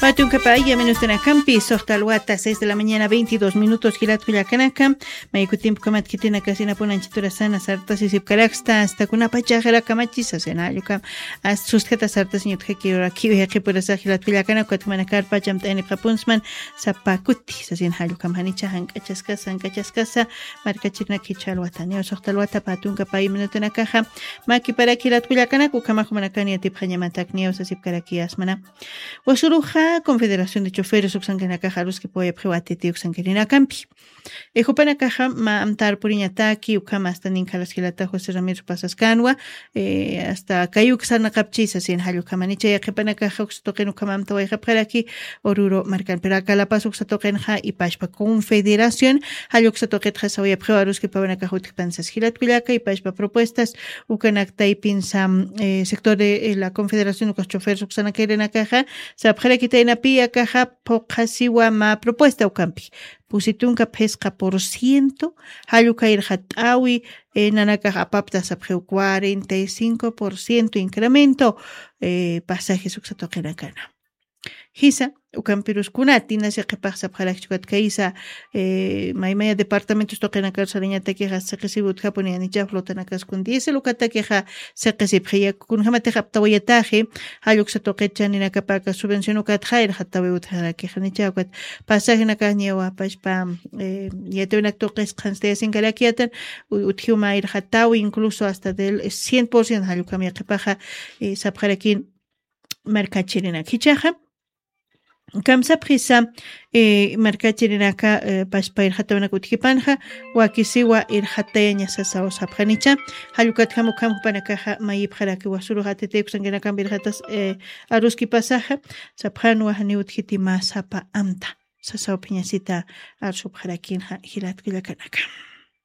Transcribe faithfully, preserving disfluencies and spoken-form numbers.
Atunka paya minutanakampi soxta alwata seis de la mañana veintidós minutos jilatkullakanaka. Mayku tiempo kamat kitinakasinapunanchiturasana sartasisipkaraksta asta kunapachaxirakamachisa sena allukam. Sustjata sartasiñutjakiwrakiwi jaqipurasa jilatkullakanaka katkumanakar pachamt'aynipxapunsman. Sapakuti sasin jallukam janicha jank'achaskasa jank'achaskasa. Markachirinak jicha alwataniw soxta alwata patunka pay minutanakaxa. Makiparak jilatkullakanaka ukhamaxmanakani atipxañamatakniw sasipkarakiyasmana. Wasuruxa confederación de choferes uksankanakaxa aruskipawayapxiwa atitiw uksankaninakampi. Jupanakaxa mä amtar puriñataki ukhama asta ninkhalas jilata josé ramiro pasaskanwa. Asta kay uksanakapchisa sin jallukhamanicha yaqhipanakaxa uksa tuqin ukhama amtawayxapxaraki. Ururu markan pero akalapas uksa tuqinxa ipashpa confederación jalluksa tuqitxa sawayapxiwa aruskipawanakaxa utjpansas jilatkullaka ipashpa propuestas. Ukanak taypinsa sector de la confederación ukas choferes uksanakirinakaxa sapxarakitaynapi akaxa phuqhasiwa mä propuesta ukampi. Pusitunka phisqa por ciento. Jallukayraxa t'awi nanakax apapta sapxiw cuarenta y cinco por ciento incremento. Pasajes uksa tuqinakana jisa ukampirus kunati nasi qhipax sapxarakchukat kaysa maymaya departamentos tuqinakar sarañatakixa siqisiwi utjapuni yanicha flotanakas kun diésel ukatakixa siqisipxiya kunjamatix aptawayataxi. Jalluksa tuqit chaninakapaka subvención ukatxa irxatawi utjarakixanicha ukat pasajenakax ñawapashpa yatiwinak tuqis qhanstayasinkarakiyatan utjiwma irxatawi incluso hasta del cien por ciento jallukam yaqhipaxa sapxarakin. Markachirinak jichaxa kamsapxisa markachirinaka pashpa irxatawinak utjipanxa wakisiwa irxatayaña sasaw sapxanicha. Jallukatjam ukham jupanakaxa mayipxaraki wasurux atitikusankinakampi irxatas aruskipasaxa sapxanwa janiw utjiti mä sapa amta sasawphiñasita arsupxarakinxa jilatkullakanaka.